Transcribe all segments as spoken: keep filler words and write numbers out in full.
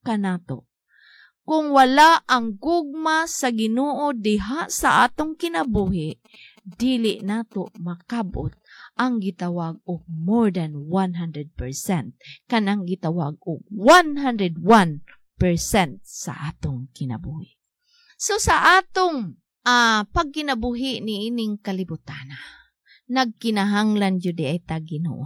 kanato. Kung wala ang gugma sa Ginoo diha sa atong kinabuhi, dili nato makabot ang gitawag og more than one hundred percent, kanang gitawag og one hundred one percent sa atong kinabuhi. So sa atong uh, pagkinabuhi ni ining kalibutana, nagkinahanglan jud ay ta Ginoo.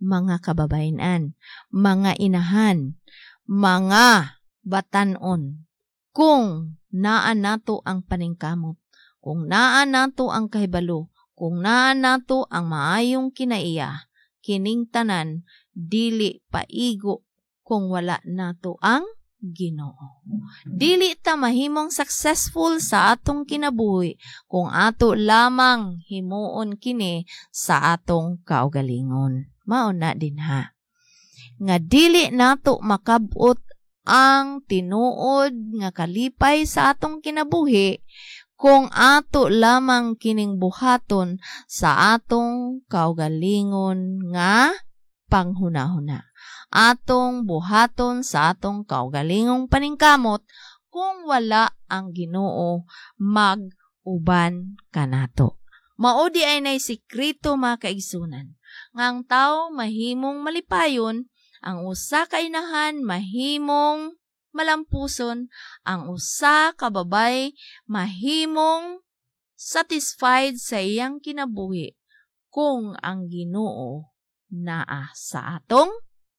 Mga kababayenan, mga inahan, mga batanon, kung naa nato ang paningkamot, kung naa nato ang kahibalo, kung naa nato ang maayong kinaiya, kining tanan dili paigo kung wala nato ang Ginoo. Dili ta mahimong successful sa atong kinabuhi kung ato lamang himuon kini sa atong kaugalingon. Mao na din ha nga dili nato makabot ang tinuod nga kalipay sa atong kinabuhi kung ato lamang kining buhaton sa atong kaugalingon nga panghunahuna. Atong buhaton sa atong kaugalingong paningkamot kung wala ang Ginoo mag-uban kanato. Mao diay nay sikreto, mga kaigsunan, nga ang tao mahimong malipayon, ang usa ka inahan mahimong malampuson, ang usa ka babay mahimong satisfied sa iyang kinabuhi kung ang Ginoo naa sa atong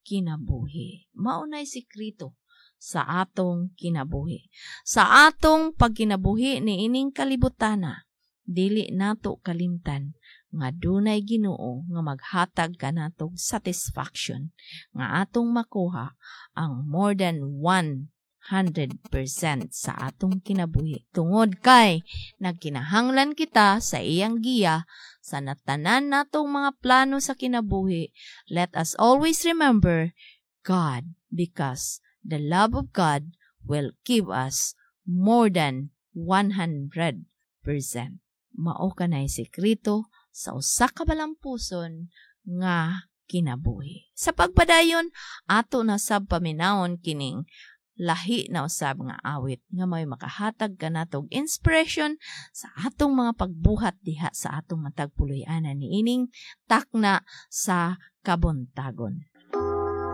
kinabuhi. Mao nay sikreto sa atong kinabuhi. Sa atong pagkinabuhi ni ining kalibutana, dili nato kalimtan nga dunay Ginoo nga maghatag kanatog satisfaction nga atong makuha ang more than one hundred percent sa atong kinabuhi. Tungod kay nagkinahanglan kita sa iyang giya sa natanan natong mga plano sa kinabuhi. Let us always remember God, because the love of God will give us more than one hundred percent. Mao kanay sekreto sa usa ka malampuson nga kinabuhi. Sa pagpadayon, ato na sab paminawon kining lahi na usab nga awit nga may makahatag kanatog inspiration sa atong mga pagbuhat diha sa atong matag puloy-anan niining takna sa kabuntagon.